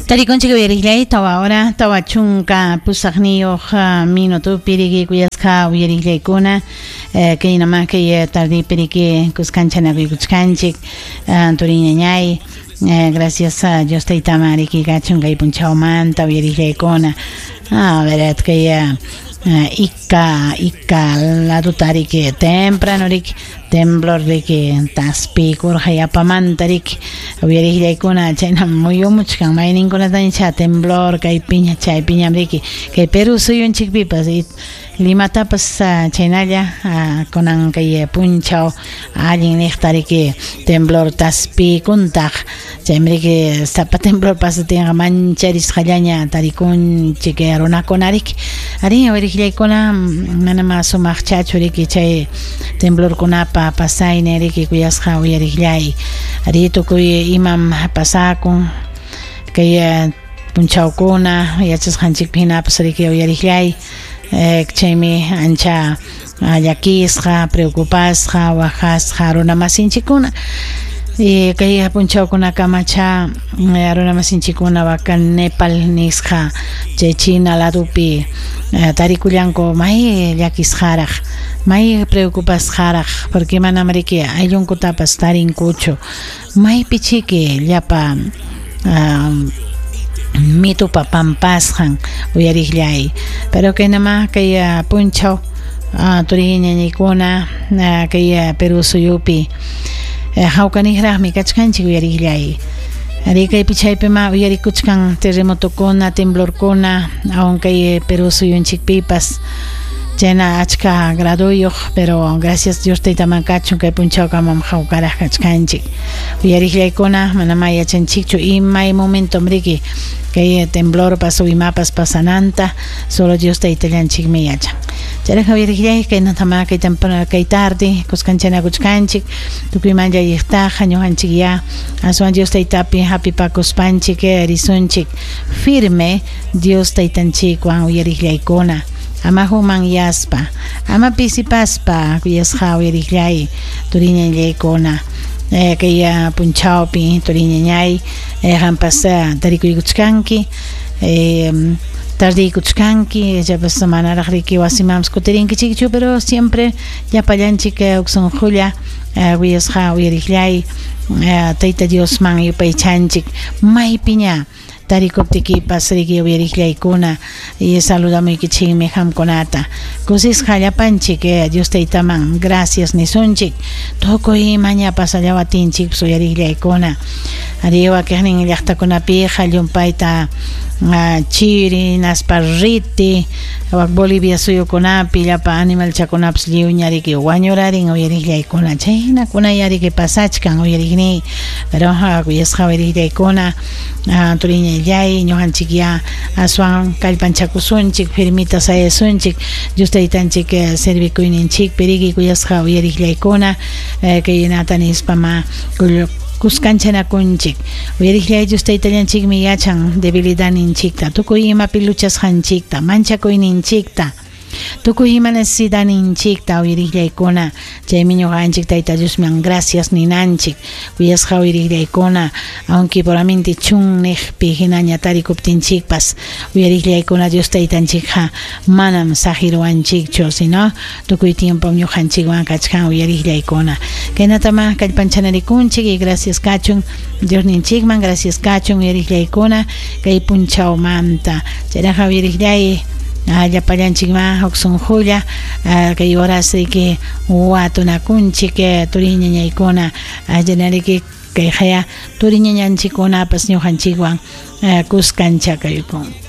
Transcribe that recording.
Tarikunchik uyariqllay 4 hora 48 minutopi riki kuyasqa uyariqllaykuna, kay nama kay tardepi riki kuskanchanakuchkanchik, turiñañay. Gracias a Dios taytaman riki kachun kay punchawmanta, uyariqllaykuna. A ver, kay Ica Ica laduta riki temprano riki temblor riki taspikurqa yapamanta riki, uyariqllaykuna. Chayna muyumuchkan mayninkunataña temblor kaypiña chaypiñam riki, kay Perú suyunchikpipas, Limatapas chaynalla kunan kay punchaw allin niqta riki temblor taspikuntaq. Chaymi riki sapa temblor pasatinqa mancharisqallaña tarikunchik runakuna riki. Arí, uyariqllaykuna, manama sumaqchachu riki chay temblorkunapa pasaynin riki, kuyasqa uyariqllay. Arí, tukuy imam pasakun kay punchawkuna, yachasqanchikpi hinapas riki, uyariqllay. Chaymi ancha llakisqa, preocupasqa, waqasqa runamasinchikkuna. Y kay punchawkunakamacha runamasinchikkuna waka Nepal nisqa chay China ladupi tarikullanku may llakisqaraq, may preocupasqaraq, porque manam riki ayllunkutapas tarinkuchu, maypi chiki llapa mitupa pampasqan, uyariqllay. Pero kay nama kay punchaw, turiñañaykuna, kay Perú suyupi hawkaniqraqmi kachkanchik, uyariqllay. Ari, kaypi chaypima uyarikuchkan terremotokuna, temblorkuna, aun kay Perú suyunchikpipas chayna achka gradoyuq, pero gracias Dios taytaman kachun, kay punchawkamam hawkaraq kachkanchik, uyariqllaykuna. Manama yachanchikchu imay momentom riki kay temblorpas o imapas pasananta, solo Dios taytallanchikmi yachan. Chayraq, uyariqllay, kaynatama kay temprano, kay tarde kuskanchanakuchkanchik. Tukuyman llalliqtaqa ñuqanchik ya aswan Dios taytapi hapipakuspanchik risunchik firme Dios taytanchikwan, uyariqllaykuna, ama humanyaspa, ama pisipaspa, kuyasqa uyariqllay, turiñañaykuna. Kay punchawpi, turiñañay, qampas tarikuykuchkanki, tardiykuchkanki, ichapas manaraq riki wasimanpas kutirinkichikchu, pero siempre llapallanchik huk sunqulla, kuyasqa uyariqllay, Tayta Diosman yupaychanchik maypiña tarikuptikipas riki, uyariqllaykuna, y saludamuykichikmi qamkunata. Kusisqa llapanchik Dios taytaman gracias nisunchik tukuy imaña pasallawatinchik, uyariqllaykuna. Ari, wakiqnin llaqtakunapiqa llumpayta chiri hinaspa riti, wak Bolivia suyukunapi llapa animalchakunapas lliwña riki wañurarin, uyariqllaykuna. Chaynakuna riki pasachkan, uyariqniy. Pero kuyasqa uyariqllaykuna, turiñallay, ñuqanchik ya aswan kallpanchakusunchik, firmita sayasunchik Dios taytanchik servikuyninchikpi riki, kuyasqa uyariqllaykuna. Kaynata nispama kuskanchanakunchik, uyariqllay. Dios taytallanchikmi yachan debilidadninchikta, tukuy imapi luchasqanchikta, manchakuyninchikta, tukuy ima necesidadninchikta, uyariqllaykuna. Chaymi ñuqanchik Tayta Diosman gracias ninanchik, kuyasqa uyariqllaykuna, aunque puramente chunniqpi hinaña tarikuptinchikpas, uyariqllaykuna, Dios taytanchikqa manam saqiruwanchikchu, sino tukuy tiempo ñuqanchikwan kachkan, uyariqllaykuna. Kaynatama kallpanchanarikunchik y gracias kachun Diosninchikman, gracias kachun, uyariqllaykuna, kay punchawmanta. Chayraqa, uyariqllay, llapallanchikman huk sunqulla kay horas riki watunakunchik, turiñañaykuna, allinariki kay haya turiñañanchikkunapas ñuqanchikwan kuskanchakaykun.